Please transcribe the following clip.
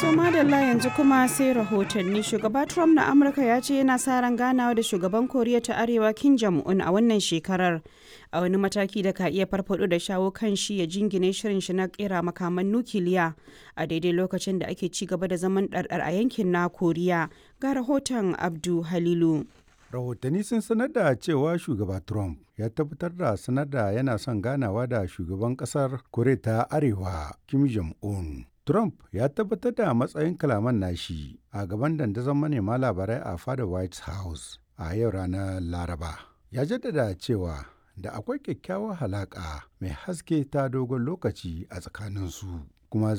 So madalla, yanzu kuma sai rahotanni. Shugaba Trump na Amurka ya ce yana sa ran ganawa da shugaban Koriya ta Arewa Kim Jong-un a wannan shekarar, a wani mataki da ka iya farfado da shawo kan shi ya jingine shirin shi na kera makaman nukiliya, a daidai lokacin da ake ci gaba da zaman ɗarɗar a yankin na Koriya. Ga rahoton Abdu Halilu. Rahotanni sun sanar da cewa Shugaba Trump ya tabbatar da sanar da yana son ganawa da shugaban kasar Koriya ta Arewa Kim Jong-un. Trump ya tabbatar da matsayin kalaman nashi a gaban dandazon manema labarai a fadar White House a yau ranar Laraba. Ya jaddada cewa da akwai kyakkyawar halaƙa mai haske ta dogon lokaci a tsakaninsu, kuma